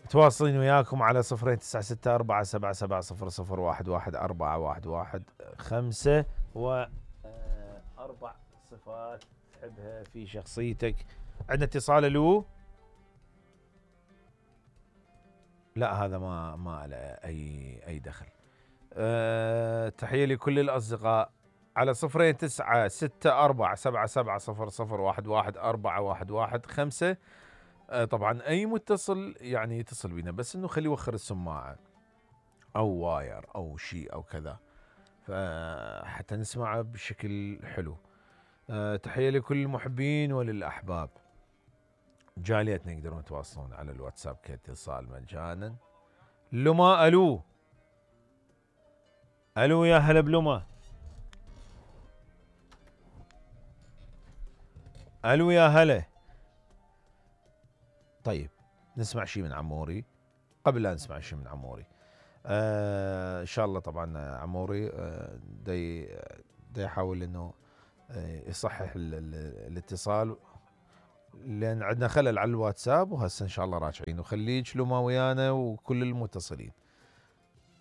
تواصلين وياكم على 026477001145 و اربع صفات تحبها في شخصيتك. عندنا اتصال. الو. لا هذا ما له اي دخل. تحية لكل الاصدقاء على 026477001145. طبعا اي متصل يعني يتصل بينا بس انه خليه يوخر السماعة او واير او شيء او كذا فحتى نسمعه بشكل حلو. تحية لكل المحبين وللاحباب. جاليتنا يقدرون يتواصلون على الواتساب كاتصال مجانا. لما. الو. الو يا هلا بلما. الو يا هلا. طيب نسمع شيء من عموري قبل لا نسمع شيء من عموري. ان شاء الله طبعا عموري دي يحاول انه يصحح الاتصال لان عندنا خلل على الواتساب وهسه ان شاء الله راجعين وخليك لما ويانا وكل المتصلين.